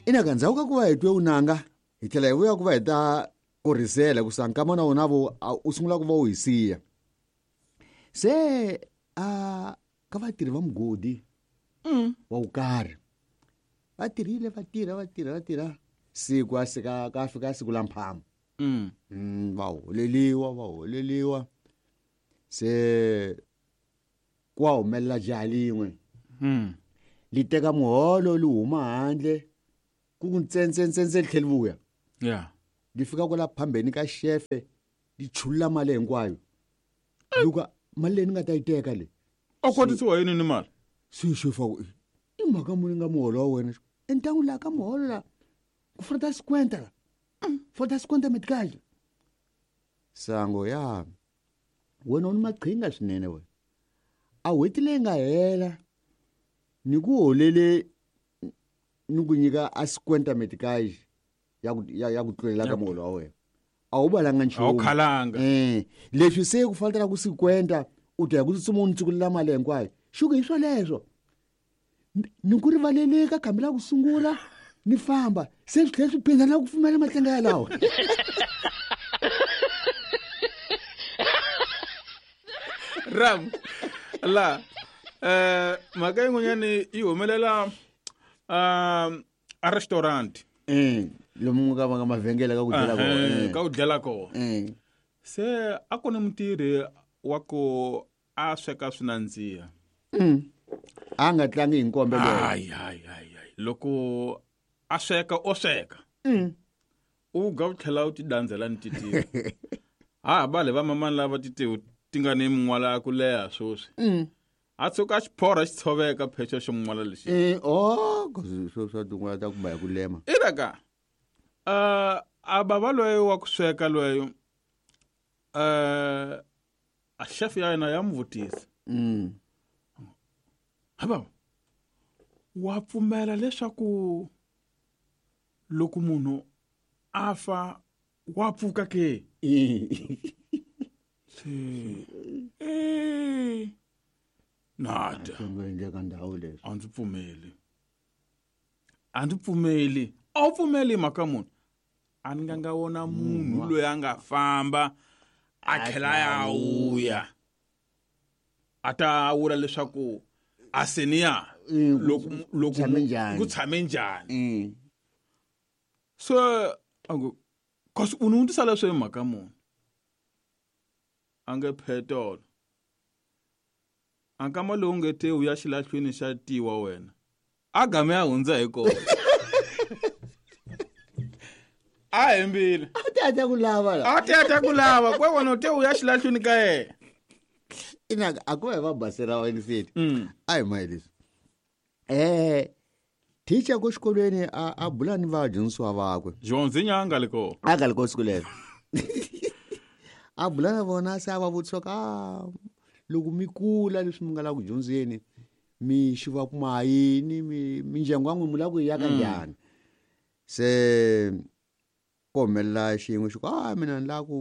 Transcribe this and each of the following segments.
Ina ka ndzhaku ka ku va hi twe unanga hi tlhela hi vuya ku va hi ta korhisela ku sa nkama na wona vo u sungula ku va u hi siya. Se a ka vatirhi va mugodi wa ku karhi va tirhile va tirha va tirha va tirha siku a sika ka fika siku la mphama. Va holeliwa va holeliwa se ku wa humelela jaha lin'we. Li teka muholo li huma handle ku ku ntsentsentsentse li tlhela vuya. Li fika kwala phambeni ka xefe li chulula mali hinkwayo. Luka mali leyi ni nga ta yi teka le. A kotisiwa yini ni mali? Se xefe a ku i mhaka muni nga muholo wa wena? Entangu laha ka muholo la ku fanele ta 50 la. Fanele ta 50 metikali. Sango ya wena u ni maqhinga swinene wena. A n'hweti leyi nga hela ni ku holele ni ku nyika a 50 metikali ya ku ya ku tlulela ka muholo wa wena. A wu valanga nchumu. A wu khalanga. Leswi se ku fanele ku 50 u ta ya ku tsutsuma u ni tsukulela mali hinkwayo. Xuku hi swoleswo. Ni ku rivalele ka khambi la ku sungula ni famba se swi tlhela swi phinda la ku pfumela matlenga yalawo. Ram la mhaka yin'wanyani yi humelela a restaurant. Lomu ka va nga mavhengele ka ku dlela kona. Ka ku dlela kona. Se a ku ni mutirhi wa ku a sweka swi nandziha. A nga tlangi hi nkombe loyi. Hayi, hayi, hayi, hayi. Loko a sweka o sweka. U ga u tlhela u ti dandzela ni titiwa. Ha ba le va mamani lava titiwa ti nga ni min'wala ya ku leha sweswi. A tshuka a xi phorha xi tshoveka phexa xo min'wala lexi. Oh, swo swa tin'wala ta kumba hi ku lema. Ina ka. A bava loyi wa ku sweka loyi a chef ya yena ya n'wi vutisa. Ha bava, wa pfumela leswaku loko munhu a fa wa pfuka ke? Se, nada. Swi nga endleka ndhawu leswi. A ndzi pfumeli. A ndzi pfumeli. A wu pfumeli mhaka munhu. A ni nga nga vona munhu loyi a nga famba a tlhela ya vuya. A ta vula leswaku a se ni ya. Loko loko Tshame njhani? ku tshame njhani? So a ku kasi u ni vutisa leswi hi mhaka munhu. A nge phetolo. A nkama lowu nge te u ya xilahlwini xa tiwa wena. A game ya hundza hi kona. A hembile. A ti a ta ku lava la. A ti a ta ku lava. Kwe wena u te u ya xilahlwini ka yena. Ina a ku va hi va basela wa yunivhesiti. A hi mahi leswi. Teacher ko xikolweni a bula ni vadyondzisiwa vakwe. Dyondzi nyanga le kona. A nga le kona siku lero. A bula na vona se a va vutisa ka loko mi kula leswi mi nga la ku dyondzeni mi xiva kuma yini mindyangu ya n'wina mi lava ku yi aka njhani. Se ku humelela xin'we xi ku a mina ni lava ku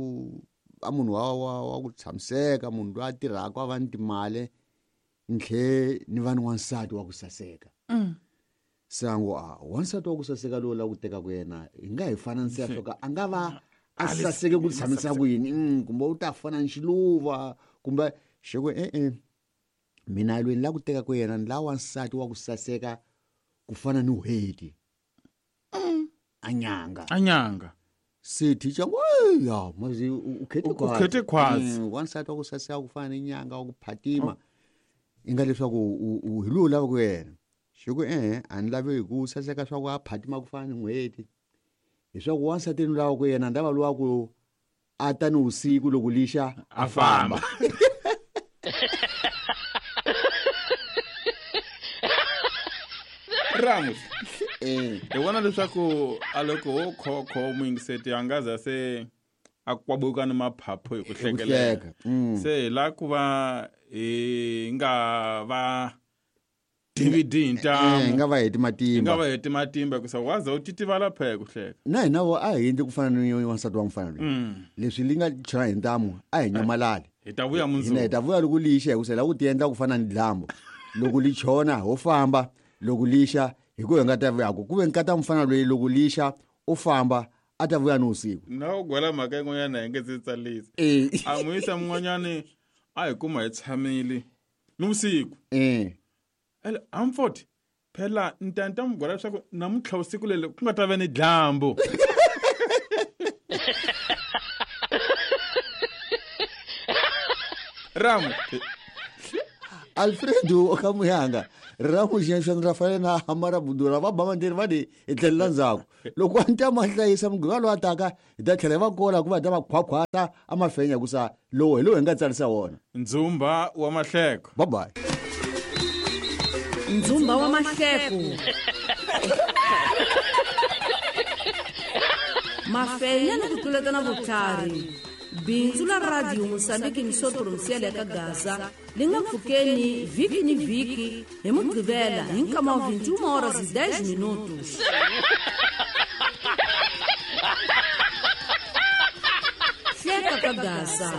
a munhu wa ku tshamiseka munhu loyi a tirhaka a va ni timali ni tlhe ni va ni wansati wa ku saseka. Se a ngo a wansati wa ku saseka lowu lava ku tekaka yena hi nga hi fananisa swa ku a nga va a saseke ku tshamisa ku yini, kumbe u ta fana ni xiluva kumbe xi ku e-e mina loyi ni lava ku tekaka yena ni lava wansati wa ku saseka ku fana ni n'hweti. A nyanga. A nyanga. Se teacher ngo ya mazi u khete U khwatsi. khete khwatsi. Wansati wa ku saseka ku fana ni nyanga wa ku phatima. I nga leswaku u hi lowu lavaka yena. Xi ku e-e a ni lavi hi ku saseka swa ku a phatima ku fana ni n'hweti. Hi swa ku wansati ni lavaka yena ni lava lowa ku a ta ni vusiku loko lixa a famba. Ramos. Hi vona leswaku a loko ho khokho muyingiseti a nga za se a kwabuka ni maphaphu hi ku hlekelela. Hleka. Se hi la ku va hi nga va DVD hi ntamu. Hi nga va heti matimba. Hi nga va heti matimba hikusa waza u titivala phela hi ku hleka. Na hina vo a hi endli ku fana ni wansati wa mufana loyi. Leswi li nga chela hi ntamu a hi nyamalali. Hi ta vuya mundzuku. Hina hi ta vuya loko lixa hikusa hi lava ku tiendla ku fana ni dlambu. Loko li chona ho famba. Loko lixa hi ku hi nga ta vuyaku ku ve nkata mufana loyi loko lixa u famba a ta vuya ni usiku. Na u gwela mhaka yin'wanyana hi nge se tsalisi. A n'wi yisa mun'wanyani a hi kuma hi tshamile ni vusiku. Ele amfoti phela ni ta ni ta n'wi gwela leswaku namuntlha vusiku leli ku nga ta va ni dyambu. Ramu. Alfredo ka muyanga riramu xenxo ra fanele na amara budura va ba manderi va di hi tlhelela ndzhaku loko a ni ta ma hlayisa muganga lowu a taka hi ta tlhela hi va kola ku va ta va khwakhwata a mafenya ku sa lowu hi lowu hi nga tsarisa wona. Ndzumba wa mahleko. Bye bye. Ndzumba wa mahleko. Mafenya ni ku tluletana vutlhari. Bindzu la Radio Mosambiki Missão Provincial ya ka Gaza li nga pfukeni vhiki ni vhiki hi Mugqivela hi nkama wa 21 horas e 10 minutos. Hleka ka Gaza.